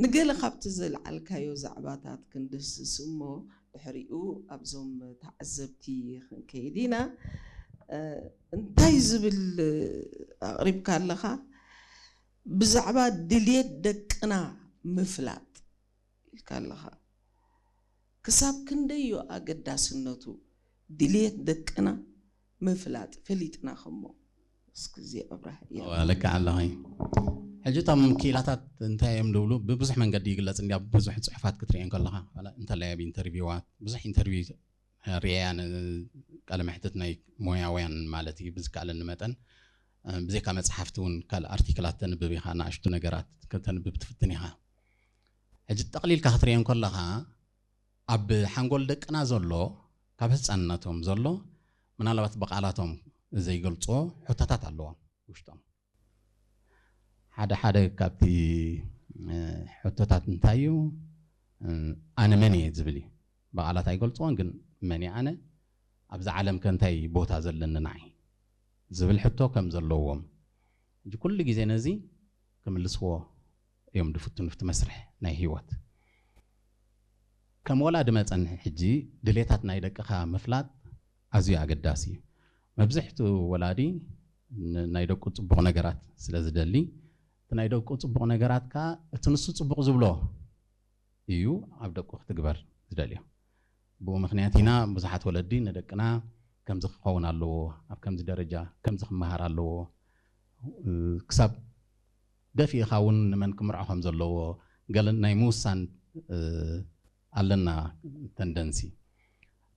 ንገለ ካብቲ ዘልዓልካዮ ዛዕባታት ክንድህስስ እሞ ድሕሪኡ ኣብዞም ተዓዘብቲ ክንከይድ ኢና። እንታይ ዝብል ኣቕሪብካ ኣለኻ? ብዛዕባ ድልየት ደቅና ምፍላጥ ኢልካ ኣለኻ። ክሳብ ክንደይ እዩ ኣገዳስነቱ ድልየት ደቅና ምፍላጥ፣ ፈሊጥና ከሞ እስክዚ ኣብራህ እያ። ልክዕ ኣለኺ። ሕጂ እቶም ክኢላታት እንታይ እዮም ዝብሉ ብብዙሕ መንገዲ ይግለፅ እንዲያ። ብዙሕ ፅሑፋት ክትሪኤን ከለኻ እንተላይ ኣብ ኢንተርቪዋት ብዙሕ ኢንተርቪው ሪያ ቃለ መሕትት ናይ ሞያውያን ማለት እዩ ብዝከኣለኒ መጠን ብዘይካ መፅሓፍቲ እውን ካልእ ኣርቲክላት ተንብብ ኢኻ፣ ንኣሽቱ ነገራት ከተንብብ ትፍትን ኢኻ። ሕጂ ጠቕሊልካ ክትሪኦ ከለኻ ኣብ ሓንጎል ደቅና ዘሎ ካብ ህፃንነቶም ዘሎ ምናልባት ብቓላቶም ዘይገልፅዎ ሕቶታት ኣለዎም ውሽጦም። ሓደ ሓደ ካብቲ ሕቶታት እንታይ እዩ? ኣነ መን እየ ዝብል እዩ። ብቓላት ኣይገልፅዎን፣ ግን መን እየ ኣነ? ኣብዚ ዓለም ከ እንታይ ቦታ ዘለኒ ንዓይ ዝብል ሕቶ ከም ዘለዎም፣ ሕጂ ኩሉ ግዜ ነዚ ክምልስዎ እዮም ድፍትኑ። እቲ መስርሕ ናይ ህይወት ከም ወላዲ መፀን ሕጂ ድሌታት ናይ ደቅኻ ምፍላጥ ኣዝዩ ኣገዳሲ እዩ። መብዝሕትኡ ወላዲ ናይ ደቁ ፅቡቕ ነገራት ስለ ዝደሊ፣ እቲ ናይ ደቁ ፅቡቕ ነገራት ከ እቲ ንሱ ፅቡቕ ዝብሎ እዩ ኣብ ደቁ ክትግበር ዝደልዮ። ብኡ ምክንያት ኢና ብዙሓት ወለዲ ንደቅና ከምዚ ክኸውን ኣለዎ፣ ኣብ ከምዚ ደረጃ ከምዚ ክመሃር ኣለዎ፣ ክሳብ ደፊእኻ እውን ንመን ክምርዖ ከም ዘለዎ ገለ ናይ ምውሳን ኣለና ተንደንሲ።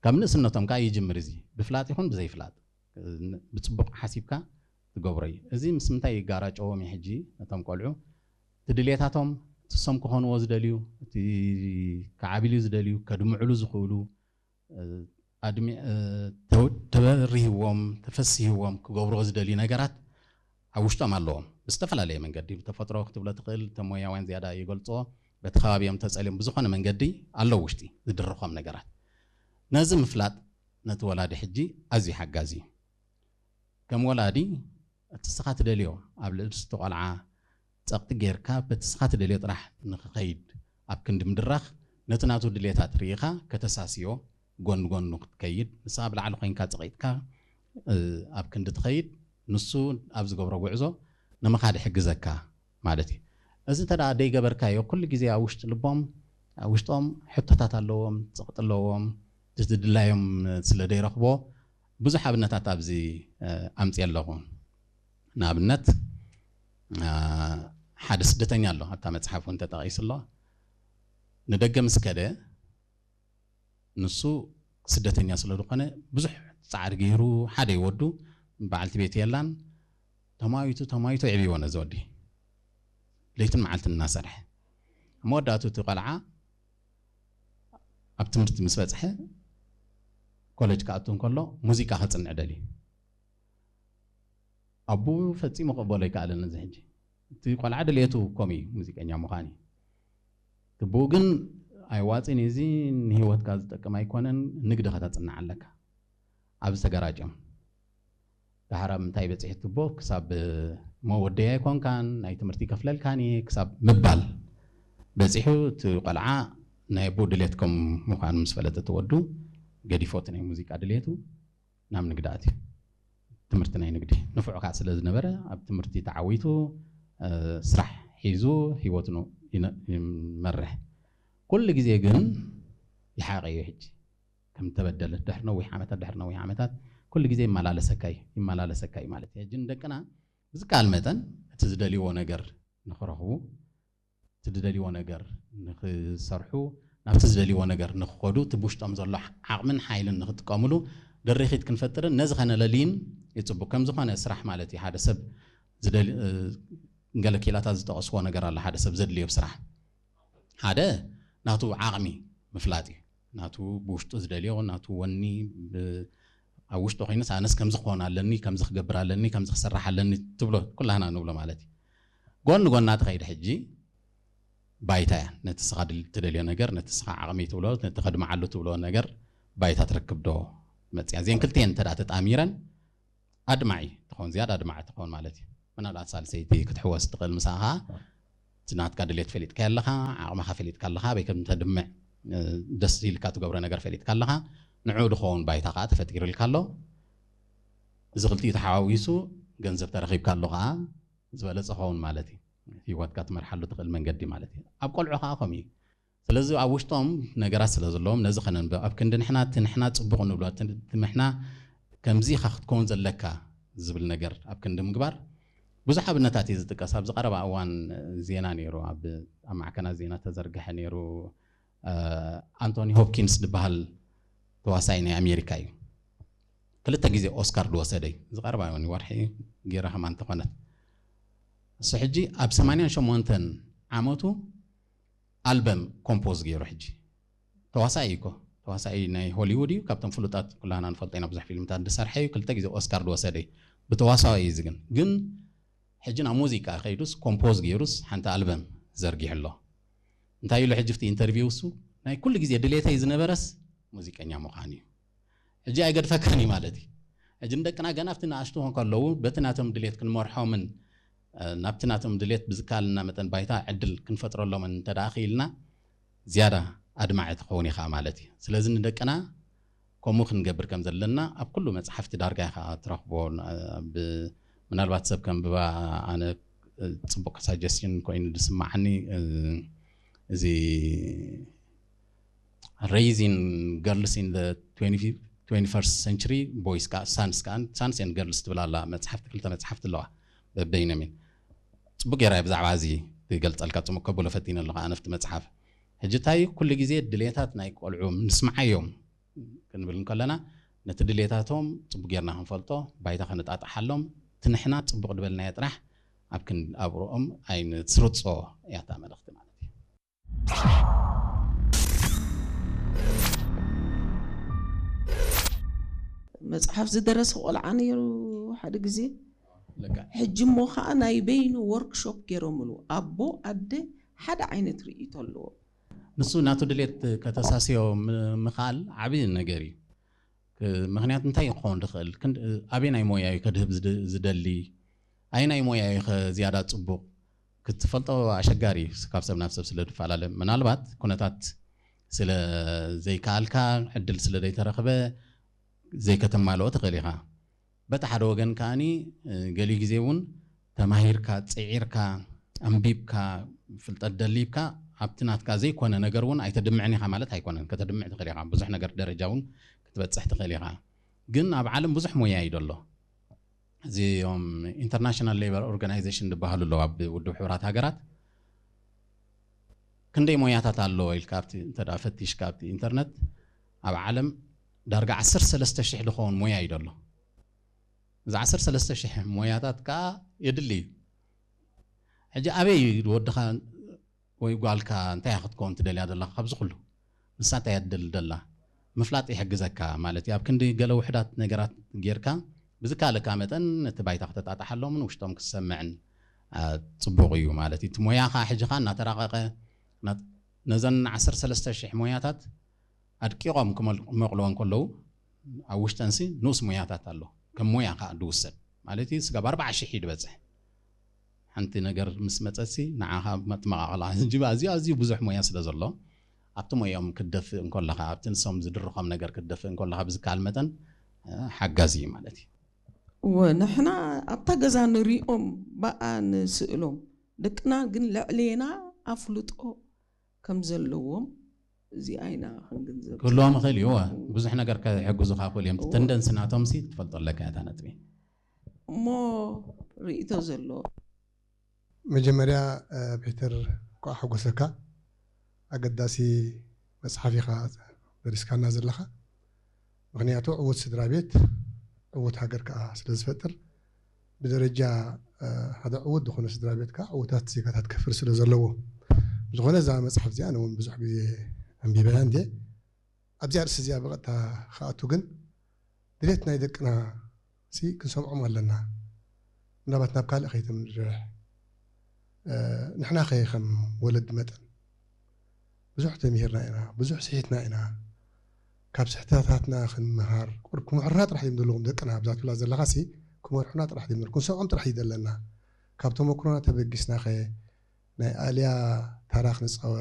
ካብ ንእስነቶም ከዓ ይጅምር። እዚ ብፍላጥ ይኹን ብዘይፍላጥ ብፅቡቕ ሓሲብካ ትገብሮ እዩ። እዚ ምስ ምንታይ ይጋራጨዎም እዩ? ሕጂ ነቶም ቆልዑ እቲ ድሌታቶም ትሶም ክኾንዎ ዝደልዩ፣ እቲ ክዓብልዩ ዝደልዩ፣ ከድምዕሉ ዝኽእሉ፣ ተበሪህዎም ተፈሲህዎም ክገብርዎ ዝደልዩ ነገራት ኣብ ውሽጦም ኣለዎም። ብዝተፈላለየ መንገዲ ብተፈጥሮ ክትብሎ ትኽእል፣ ተሞያውያን ዝያዳ ይገልፅዎ፣ በቲ ከባቢኦም ተፀልዮም ብዝኾነ መንገዲ ኣለዉ ውሽጢ ዝድርኾም ነገራት። ነዚ ምፍላጥ ነቲ ወላዲ ሕጂ ኣዝዩ ሓጋዚ እዩ። ከም ወላዲ እቲ ስኻ ትደልዮ ኣብ ልዕሊ እቲ ቆልዓ ፀቕጢ ጌርካ በቲ ስኻ ትደልዮ ጥራሕ ንክኸይድ ኣብ ክንዲ ምድራኽ ነቲ ናቱ ድሌታት ርኢኻ ከተሳስዮ ጎን ጎኑ ክትከይድ፣ ንስኻ ብላዕሊ ኮይንካ ፀቒጥካ ኣብ ክንዲ ትኸይድ ንሱ ኣብ ዝገብሮ ጉዕዞ ንምኻድ ይሕግዘካ ማለት እዩ። እዚ እንተ ደኣ ደይገበርካዮ ኩሉ ግዜ ኣብ ውሽጢ ልቦም ኣብ ውሽጦም ሕቶታት ኣለዎም፣ ፀቕጢ ኣለዎም፣ ዝድላዮም ስለ ደይረኽቦ ብዙሕ ኣብነታት ኣብዚ ኣምፅየ ኣለኹ። ንኣብነት ሓደ ስደተኛ ኣሎ ኣብታ መፅሓፍ እውን ተጠቒሱ ኣሎ። ንደገ ምስ ከደ ንሱ ስደተኛ ስለ ዝኾነ ብዙሕ ፃዕሪ ገይሩ ሓደ ይወዱ በዓልቲ ቤት የላን ተማዊቱ ተማዊቱ የዕብይዎ ነዚ ወዲ ለይትን መዓልትን እናሰርሐ ኣብ መወዳእቱ እቲ ቆልዓ ኣብ ትምህርቲ ምስ በፅሐ ኮሌጅ ክኣቱ እንከሎ ሙዚቃ ከፅንዕ ደልዩ። ኣቡ ፈፂሙ ክቕበሎ ኣይከኣለን። እዚ ሕጂ እቲ ቆልዓ ድልየቱ ከም እዩ ሙዚቀኛ ምዃን እዩ። ትብኡ ግን ኣይዋፅን እዩ፣ እዚ ንህይወትካ ዝጠቅም ኣይኮነን፣ ንግዲ ከተፅንዕ ኣለካ። ኣብዚ ተገራጭዮም። ዳሕር ኣብ ምንታይ በፂሑ ትቦ ክሳብ መወደያ ኣይኮንካን ናይ ትምህርቲ ከፍለልካን እየ ክሳብ ምባል በፂሑ። እቲ ቆልዓ ናይ ኣቦ ድሌት ከም ምዃኑ ምስ ፈለጠ እቲ ወዱ ገዲፎ እቲ ናይ ሙዚቃ ድሌቱ ናብ ንግዲ ኣትዩ። ትምህርቲ ናይ ንግዲ ንፉዕ ከዓ ስለ ዝነበረ ኣብ ትምህርቲ ተዓዊቱ ስራሕ ሒዙ ህይወቱ ይመርሕ። ኩሉ ግዜ ግን ይሓቐዮ ሕጂ ከም ተበደለ ድሕሪ ነዊሕ ዓመታት ድሕሪ ነዊሕ ዓመታት ኩሉ ግዜ ይመላለሰካ እዩ ይመላለሰካ እዩ ማለት እዩ። ሕጂ ንደቅና ብዝከኣል መጠን እቲ ዝደልይዎ ነገር ንኽረኽቡ እቲ ዝደልይዎ ነገር ንኽሰርሑ ናብቲ ዝደልይዎ ነገር ንኽኸዱ እቲ ብውሽጦም ዘሎ ዓቕምን ሓይልን ንኽጥቀምሉ ድርኺት ክንፈጥርን ነዚ ከነለልይን ይፅቡቅ። ከም ዝኾነ ስራሕ ማለት እዩ ሓደ ሰብ ገለ ኪላታት ዝጠቐስዎ ነገር ኣሎ ሓደ ሰብ ዘድልዮ ስራሕ ሓደ ናቱ ዓቕሚ ምፍላጥ እዩ። ናቱ ብውሽጡ ዝደልዮ ናቱ ወኒ ኣብ ውሽጡ ኮይኑስ ኣነስ ከምዚ ክኾን ኣለኒ ከምዚ ክገብር ኣለኒ ከምዚ ክሰርሕ ኣለኒ ትብሎ ኩላህና ንብሎ ማለት እዩ። ጎኒ ጎና ትኸይድ ሕጂ ባይታ እያ ነቲ ስኻ ትደልዮ ነገር ነቲ ስኻ ዓቕሚ ትብሎ ነቲ ከድምዓሉ ትብሎ ነገር ባይታ ትረክብ ዶ መፅያ እዚአን ክልተን እንተ ተጣሚረን ኣድማዒ ትኸውን ዝያዳ ኣድማዒ ትኸውን ማለት እዩ። ምናልባት ሳልሰይቲ ክትሕወስ ትኽእል ምሳኻ እቲ ናትካ ድሌት ፈሊጥካ ኣለኻ፣ ዓቕምኻ ፈሊጥካ ኣለኻ፣ ኣበይ ከም ተድምዕ ደስ ኢልካ ትገብሮ ነገር ፈሊጥካ ኣለኻ። ንዑ ዝኸውን ባይታ ከዓ ተፈጢሩልካ ኣሎ። እዚ ክልቲኡ ተሓዋዊሱ ገንዘብ ተረኺብካ ኣሎ ከዓ ዝበለፀ ኸውን ማለት እዩ። ህይወትካ ትመርሓሉ ትኽእል መንገዲ ማለት እዩ። ኣብ ቆልዑ ከዓ ከምኡ እዩ። ስለዚ ኣብ ውሽጦም ነገራት ስለ ዘለዎም ነዚ ከነንብብ ኣብ ክንዲ ንሕና እቲ ንሕና ፅቡቕ ንብሎ እቲ ንሕና ከምዚ ኢኻ ክትከውን ዘለካ ዝብል ነገር ኣብ ክንዲ ምግባር ብዙሕ ኣብነታት እዩ ዝጥቀስ። ኣብዚ ቀረባ እዋን ዜና ነይሩ፣ ኣብ ኣብ ማዕከናት ዜና ተዘርግሐ ነይሩ። ኣንቶኒ ሆፕኪንስ ዝበሃል ተዋሳኢ ናይ ኣሜሪካ እዩ። ክልተ ግዜ ኦስካር ዝወሰደ እዩ። ዝቀረባ እውን ወርሒ ገይረ ከማ እንተኾነት እሱ ሕጂ ኣብ ሰማንያን ሸሞንተን ዓመቱ ኣልበም ኮምፖዝ ገይሩ ሕጂ ተዋሳኢ እዩ እኮ። ተዋሳኢ ናይ ሆሊውድ እዩ። ካብቶም ፍሉጣት ኩላህና ንፈልጦ ኢና ብዙሕ ፊልምታት ዝሰርሐ እዩ። ክልተ ግዜ ኦስካር ዝወሰደ እዩ። ብተዋሳኢ እዩ። እዚ ግን ግን ሕጂ ናብ ሙዚቃ ከይዱስ ኮምፖዝ ገይሩስ ሓንቲ ኣልበም ዘርጊሑ ኣሎ። እንታይ ኢሉ ሕጂ ኣብቲ ኢንተርቪው እሱ ናይ ኩሉ ግዜ ድሌተይ ዝነበረስ ሙዚቀኛ ምዃን እዩ። ሕጂ ኣይገድፈካን እዩ ማለት እዩ። ሕጂ ንደቅና ገና ኣብቲ ንኣሽቱ ከለዉ በቲ ናቶም ድሌት ክንመርሖምን ናብቲ ናቶም ድሌት ብዝከኣልና መጠን ባይታ ዕድል ክንፈጥረሎምን እንተ ደኣ ክኢልና ዝያዳ ኣድማዒ ትኸውን ኢኻ ማለት እዩ። ስለዚ ንደቅና ከምኡ ክንገብር ከም ዘለና ኣብ ኩሉ መጽሓፍቲ ዳርጋ ኢኻ ትረኽቦ። ምናልባት ሰብ ከንብባ ኣነ ጽቡቕ ሳጀስሽን ኮይኑ ዝስማዓኒ እዚ raising girls in the twenty-first century boys sons sons and girls ትብል ኣላ መጽሓፍቲ ክልተ መጽሓፍቲ ኣለዋ በበይነሚን ጽቡቅ ገይራ ብዛዕባ እዚ ትገልጸልካ ጽሙቅ ከብሎ ፈቲነ ኣለኹ ኣነፍቲ መጽሓፍ ሕጂ እንታይ ኩሉ ግዜ ድሌታት ናይ ቆልዑ ንስምዓዮም ክንብል እንከለና ነቲ ድሌታቶም ጽቡቅ ጌርና ክንፈልጦ ባይታ ክንጣጣሓሎም እቲ ንሕና ጽቡቅ ዝበልናዮ ጥራሕ ኣብ ክንድ ኣብርኦም ኣይንስርጾ እያ እታ መልእኽቲ ማለት እዩ። መፅሓፍ ዝደረሰ ቆልዓ ነይሩ ሓደ ግዜ ሕጂ እሞ ከዓ ናይ በይኑ ወርክሾፕ ገይሮምሉ ኣቦ ኣደ ሓደ ዓይነት ርእይቶ ኣለዎ ንሱ ናቱ ድሌት ከተሳስዮ ምኽኣል ዓብዪ ነገር እዩ ምኽንያት እንታይ ክኸውን ዝኽእል ኣበይ ናይ ሞያ እዩ ከድህብ ዝደሊ ኣይ ናይ ሞያ እዩ ዝያዳ ፅቡቕ ክትፈልጦ ኣሸጋሪ እዩ ካብ ሰብ ናብ ሰብ ስለ ዝፈላለ ምናልባት ኩነታት ስለ ዘይከኣልካ ዕድል ስለ ዘይተረኽበ ዘይከተማልኦ ትኽእል ኢኻ በቲ ሓደ ወገን ከዓኒ ገሊኡ ግዜ እውን ተማሂርካ ፅዒርካ ኣንቢብካ ፍልጠት ደሊብካ ኣብቲ ናትካ ዘይኮነ ነገር እውን ኣይተድምዕን ኢኻ ማለት ኣይኮነን ከተድምዕ ትኽእል ኢኻ ብዙሕ ነገር ደረጃ እውን ክትበፅሕ ትኽእል ኢኻ ግን ኣብ ዓለም ብዙሕ ሞያ እዩ ደሎ እዚኦም ኢንተርናሽናል ሌበር ኦርጋናይዜሽን ዝበሃሉ ኣለዉ ኣብ ውድብ ሕቡራት ሃገራት ክንደይ ሞያታት ኣለዎ ኢልካ ኣብቲ እንተ ፈቲሽካ ኣብቲ ኢንተርነት ኣብ ዓለም ዳርጋ ዓሰርተ ሰለስተ ሽሕ ዝኸውን ሞያ እዩ ደሎ እዚ ዓሰርተ ሰለስተ ሽሕ ሞያታት ከዓ የድሊ እዩ ሕጂ ኣበይ ወድኻ ወይ ጓልካ እንታይ ክትከውን ትደልያ ዘለኻ ካብዚ ኩሉ ንሳ እንታይ እያ ትደሊ ደላ ምፍላጥ ይሕግዘካ ማለት እዩ ኣብ ክንዲ ገለ ውሕዳት ነገራት ጌርካ ብዝካለካ መጠን ነቲ ባይታ ክተጣጣሓሎምን ውሽጦም ክሰምዕን ፅቡቕ እዩ ማለት እዩ እቲ ሞያኻ ሕጂ ኻ እናተራቐቐ ነዘን ዓሰርተ ሰለስተ ሽሕ ሞያታት ኣድቂቖም ክመቕልወን ከለዉ ኣብ ውሽጠንሲ ንኡስ ሞያታት ኣሎ ከም ሞያ ከዓ ድውሰድ ማለት እዩ ስጋብ ኣርባዓ ሽሕ እዩ ድበፅሕ ሓንቲ ነገር ምስ መፀሲ ንዓኻ መጥመቓቕላ ሕጂ ኣዝዩ ኣዝዩ ብዙሕ ሞያ ስለ ዘሎ ኣብቲ ሞያኦም ክትደፍእ እንከለኻ ኣብቲ ንሶም ዝድርኾም ነገር ክትደፍእ እንከለኻ ብዝከኣል መጠን ሓጋዚ እዩ ማለት እዩ እወ ንሕና ኣብታ ገዛ ንሪኦም ብኣ ንስእሎም ደቅና ግን ልዕሌና ኣፍልጦ ከም ዘለዎም እዚኣ ኢና ክንግንዘብ ክህልዎም ይኽእል እዩ ብዙሕ ነገር ከሕግዙኻ ክእል እዮም ተንደንሲ ናቶም ሲ ክትፈልጦ ኣለካ እታ ነጥቢ እሞ ርእቶ ዘሎ መጀመርያ ፒተር ኳዓ ሓጎሰካ ኣገዳሲ መፅሓፍ ኢኻ ደሪስካና ዘለኻ ምክንያቱ ዕዉት ስድራ ቤት ዕዉት ሃገር ከዓ ስለ ዝፈጥር ብደረጃ ሓደ ዕዉት ዝኾነ ስድራ ቤት ከዓ ዕዉታት ዜጋታት ከፍሪ ስለ ዘለዎ ብዝኾነ እዛ መፅሓፍ እዚኣ እውን ብዙሕ ግዜ ኣንቢበያ እንዴ ኣብዚኣ ርእሲ እዚኣ ብቐጥታ ክኣቱ ግን ድሌት ናይ ደቅና ሲ ክንሰምዖም ኣለና ምናልባት ናብ ካልእ ከይተምንድርሕ ንሕና ከ ከም ወለዲ መጠን ብዙሕ ተሚሂርና ኢና ብዙሕ ስሒትና ኢና ካብ ስሕተታትና ክንምሃር ቁር ክምሕሩና ጥራሕ እዮም ዘለዎም ደቅና ኣብዛ ትብላ ዘለኻ ሲ ክመርሑና ጥራሕ እዮም ክንሰምዖም ጥራሕ እዩ ዘለና ካብ ተመክሮና ተበጊስና ከ ናይ ኣልያ ታራ ክንፃወት።